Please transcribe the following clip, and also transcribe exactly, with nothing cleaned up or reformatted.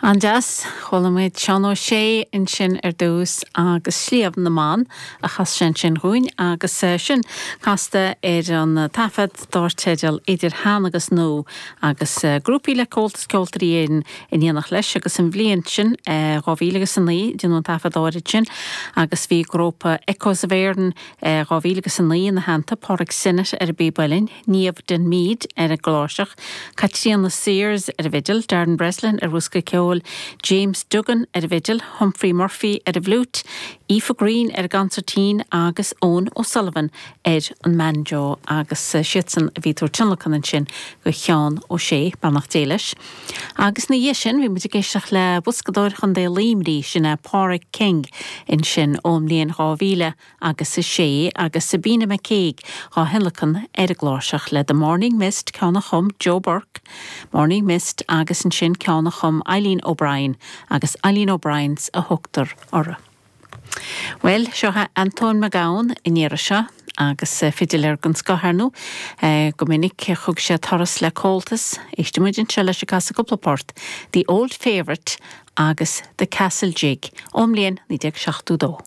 An-deas, chuala muid Seán Ó Sé ansin ar dtús agus Sliabh na mBan a chas sé ansin dhúinn agus sin casta ar an taifead dar teideal Idir Shean agus Nua agus grúpaí le Comhaltas Ceoltóirí Éireann in éineacht leis agus an bhliain sin dhá mhíle agus a naoi déanadh an taifead áirid sin agus bhí grúpa Echoes of Éireann dhá mhíle agus a naoi ina theannta, Pádraig Sinnott ar an bpíb uilleann, Niamh Denmead ar an gcláirseach, Caitríona Sears ar an bhfidil, Darren Breslin ar bhosca ceoil, James Duggan ar an bhfidil, Humphrey Murphy ar an bhfliúit, Aoife Green ar an gconsairtín agus Eoin O'Sullivan ar an mbanjo agus siadsan a bhí ag tabhairt tionlacan ansin do Sheán Ó Sé, beannacht Dé leis. Agus ina dhiaidh sin bhí muid ag éisteacht le boscadóir Chontae Luimnigh, sin é Pádraig King ansin ón mbliain dhá mhíle agus a sé agus Sabina McCaig á thionlacan ar an gcláirseach le The Morning Mist ceann a chum Joe Burke, Morning Mist agus ansin ceann a chum Eileen O'Brien agus Eileen O'Brien's a thugtar orthu. Well, seo Antóin Mac Gabhann an iarraidh seo agus fidiléir den scoth ar ndóigh go minic thug sé turas le Comhaltas, éistfidh muid anseo leis ag casadh cúpla port, The Old Favourite agus The Castle Jig ón mbliain naoi déag seachtó dó.